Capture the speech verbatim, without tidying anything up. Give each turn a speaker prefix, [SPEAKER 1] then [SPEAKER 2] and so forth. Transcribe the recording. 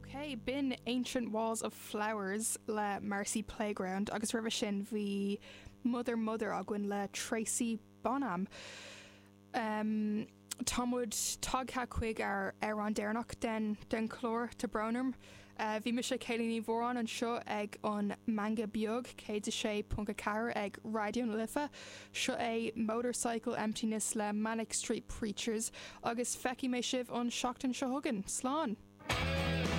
[SPEAKER 1] Ok, b'in Ancient Walls of Flowers le Marcy Playground agus roimhe sin bhí Mother Mother againn le Tracy Bonham. Um, Tá muid tagtha chuig ar ar an deireanach den den chlár tá brón orm. Uh, bhí mise Céilí Ní Mhóráin anseo ag an Meangadh Beag céad a sé ponc a ceathair ag Raidió na Life, seo é Motorcycle Emptiness le Manic Street Preachers agus feicfidh mé sibh an seachtain seo chugainn, slán!